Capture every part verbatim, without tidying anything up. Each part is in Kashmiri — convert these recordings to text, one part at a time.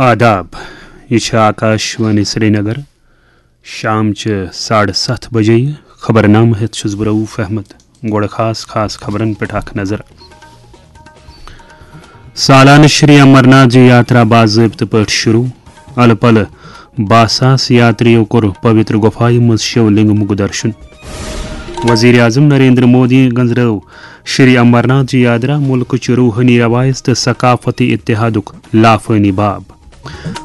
آداب، یہِ چھِ آکاش وانی سرینگر۔ شام چہِ ساڑٕ ستھ بجے۔ خبرنامہٕ ہٮ۪تھ چھُس بہٕ رؤف احمد۔ گۄڈٕ خاص خاص خبرن پٮ۪ٹھ اکھ نظر۔ سالانہٕ شری امرناتھ جی یاترا باضٲبطہٕ پٲٹھۍ شروع۔ الہٕ پلہٕ باہ ساس یاتریو کوٚر پویتر گۄپھایہِ منٛز شیو لنگمُک درشن۔ وزیر اعظم نریندر مودی گنزرٲو شری امرناتھ جی یاترا ملکٕچ روحٲنی روایژ تہٕ ثقافتی اتحادُک لافٲنی باب۔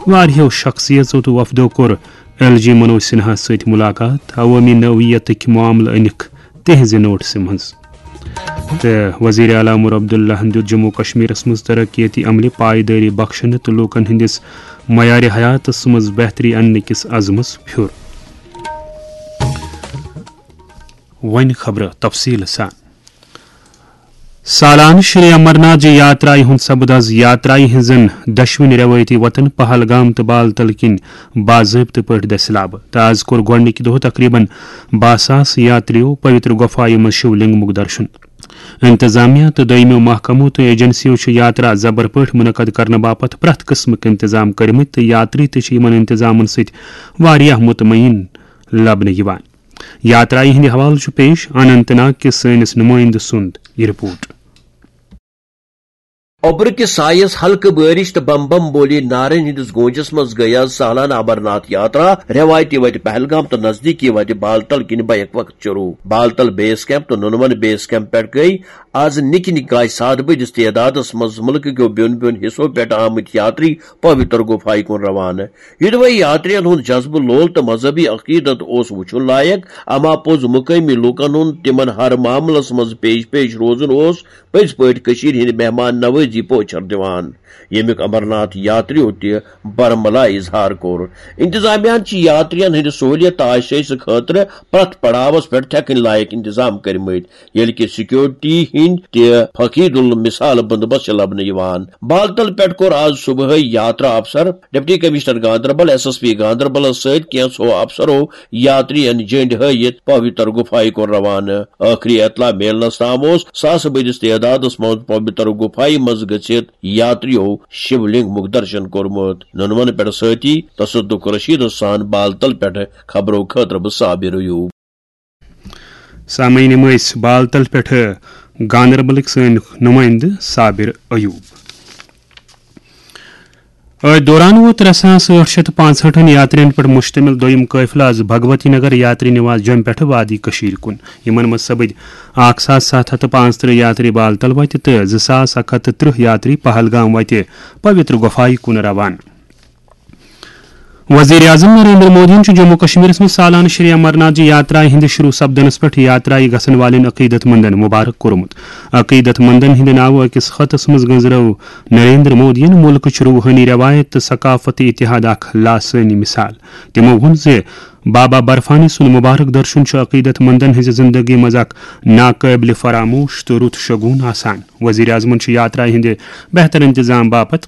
واریاہو شخصیژو تہٕ وفدو کوٚر ایل جی منوج سنہاہس سۭتۍ ملاقات، عوٲمی نوعیتٕکۍ معاملہٕ أنِکھ تِہنزِ نوٹسہِ منٛز۔ تہٕ وزیر اعلیٰ عمر عبداللہن دیُت جموں کشمیرس منٛز ترقیتی عملہِ پایدٲری بخشنہٕ تہٕ لوٗکن ہٕنٛدِس معیارِ حیاتس منٛز بہتری اننہٕ کِس عزمس پھیُر۔ وۄنۍ خبرٕ تفصیٖل سان۔ سالانہٕ شری امرناتھ جی یاترایہِ ہُنٛد سپُد از یاترایہِ ہٕنٛزن دۄشوٕنی رٮ۪وٲیتی وطن پہلگام تہٕ بالتل کِنۍ باضٲبطہٕ پٲٹھۍ دٔسِلابہٕ، تہٕ از کوٚر گۄڈٕنِکہِ دۄہ تقریباً باہ ساس یاتریو پویتر گۄپھایہِ منٛز شِو لنگمُک درشن۔ انتظامیہ تہٕ دوٚیمٮ۪و محکمو تہٕ ایجنسیو چھِ یاترا زبر پٲٹھۍ منعقد کرنہٕ باپتھ پرٛٮ۪تھ قٕسمٕک انتظام کٔرمٕتۍ، تہٕ یاتری تہِ چھِ یِمن انتظامن سۭتۍ واریاہ مطمئن لبنہٕ یِوان۔ یاترایہِ ہٕنٛدِ حوالہٕ چھُ پیش اننت ناگ کِس سٲنِس نُمٲیندٕ سُنٛد یہِ رپورٹ۔ اوٚبرٕ کِس سایس ہلکہٕ بٲرِش تہٕ بم بم بولی نعرن ہٕنٛدِس گوٗنجس منٛز گٔیہِ از سالانہٕ امرناتھ یاترا رٮ۪وایتی وتہِ پہلگام تہٕ نزدیٖکی وتہِ بالتل کِنۍ بیک وقت شروع۔ بالتل بیس کیمپ تہٕ نُنون بیس کیمپ پٮ۪ٹھ گٔیہِ از نِکہِ نِکہِ کاے سادٕ بٔدِس تعدادس منٛز مُلکہٕ کیو بیوٚن بیوٚن حصو پٮ۪ٹھ آمٕتۍ یاتری پویتر گُفایہِ کُن روانہٕ۔ یِدوے یاترین ہُنٛد جذبہٕ لول تہٕ مذہبی عقیدت اوس وُچھُن لایق، اما پوٚز مقٲمی لوٗکن ہُنٛد تِمن ہر معاملس منٛز پیش پیش روزُن اوس پٔزۍ پٲٹھۍ کٔشیٖرِ ہٕنٛدِ مہمان نوٲزی پوچھر دِوان، ییٚمیُک امرناتھ یاتریو تہِ برملا اظہار کوٚر۔ انتظامیہن چھِ یاترین ہٕنٛدِ سہوٗلیت تہٕ آسٲیشہِ خٲطرٕ پرٛٮ۪تھ پڑاوس پٮ۪ٹھ تھٮ۪کٕنۍ لایق انتظام کٔرمٕتۍ، ییٚلہِ کہِ سیکیورٹی ہٕنٛدۍ تہِ فقید المثال بندوبست چھِ لبنہٕ یِوان۔ بالتل پٮ۪ٹھ کوٚر آز صبحٲے یاترا افسر، deputy commissioner Ganderbal, S S P گاندربلس سۭتۍ کینٛژھو افسرو یاترین جٔنڈۍ ہٲوِتھ پویتر گُفایہِ کُن روانہٕ۔ ٲخری اطلاع میلنس تام اوس ساسہٕ بٔدِس تعدادس منٛز پویتر گُفایہِ منٛز گٔژھِتھ یاتریو شِولنگمُک درشن کوٚرمُت۔ نُنون پٮ۪ٹھ سۭتی تصدق رشیدس سان بالتل پٮ۪ٹھ خبرو خٲطرٕ بہٕ صابر ایوب۔ سامعین، یِم ٲسۍ بالتل پٮ۪ٹھٕ گاندربلٕکۍ سٲنۍ نُمٲیندٕ صابر ایوب۔ أتھۍ دوران ووت ترٛےٚ ساس ٲٹھ شیٚتھ تہٕ پانٛژہٲٹھن یاترین پٮ۪ٹھ مشتمل دوٚیِم قٲفلہٕ از بھگوتی نگر یاتری نواس جوٚمہِ پٮ۪ٹھٕ وادی کٔشیٖرِ کُن۔ یِمن منٛز سپٕدۍ اکھ ساس ستھ ہتھ تہٕ پانٛژترٕہ یاتری بالتل وتہِ تہٕ زٕ ساس اکھ ہتھ تہٕ ترٕہ یاتری پہلگام وتہِ پویتر گۄپھایہِ کُن روانہٕ۔ وزیر اعظم نریندر مودیَن چھُ جموں کشمیرس منٛز سالانہٕ شری امرناتھ جی یاترایہِ ہٕنٛدِ شروع سپدنس پٮ۪ٹھ یاترایہِ گژھن والٮ۪ن عقیدت مندن مبارک کوٚرمُت۔ عقیدت مندن ہٕنٛدِ ناوٕ أکِس خطس منٛز گنزرٲو نریندر مودیَن مُلکٕچ روحٲنی رٮ۪وایت تہٕ ثقافتی اتحاد اکھ لاسٲنی مثال۔ تِمو ووٚن زِ بابا برفانی سُنٛد مبارک درشن چھُ عقیدت مندن ہٕنٛزِ زندگی منٛز اکھ ناقٲبلِ فراموش تہٕ رُت شگون آسان۔ وزیر اعظمَن چھُ یاترایہِ ہٕنٛدِ بہتر انتظام باپتھ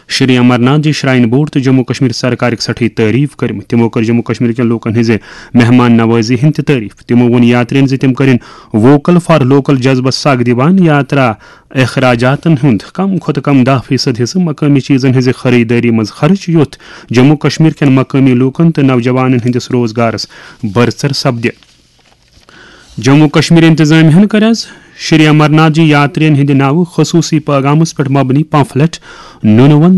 شری امرناتھ جی شراین بورڈ تہٕ جموں کشمیر سرکارٕکۍ سٮ۪ٹھٕے تعریف کٔرمٕتۍ۔ تِمو کٔر جموں کشمیر کٮ۪ن لوٗکن ہٕنٛزِ مہمان نوازی ہٕنٛدۍ تہِ تعریف۔ تِمو ووٚن یاترین زِ تِم کٔرِن ووکل فار لوکل جذبس سگ دِوان۔ یاترا اخراجاتن ہُنٛد کم کھۄتہٕ کم دَہ فیصد حصہٕ مقٲمی چیزن ہٕنٛزِ خریدٲری منٛز خرٕچ، یُتھ جموں کشمیر کٮ۪ن مقٲمی لوٗکن تہٕ نوجوانن ہٕنٛدِس روزگارس بٔرژر سپدِ۔ جموں کشمیر انتظامیہ ہن کٔر از شری امرناتھ جی یاترین ہٕنٛدِ ناوٕ خصوصی پیغامس پٮ۪ٹھ مبنی پمفلٹ نُنہٕ ون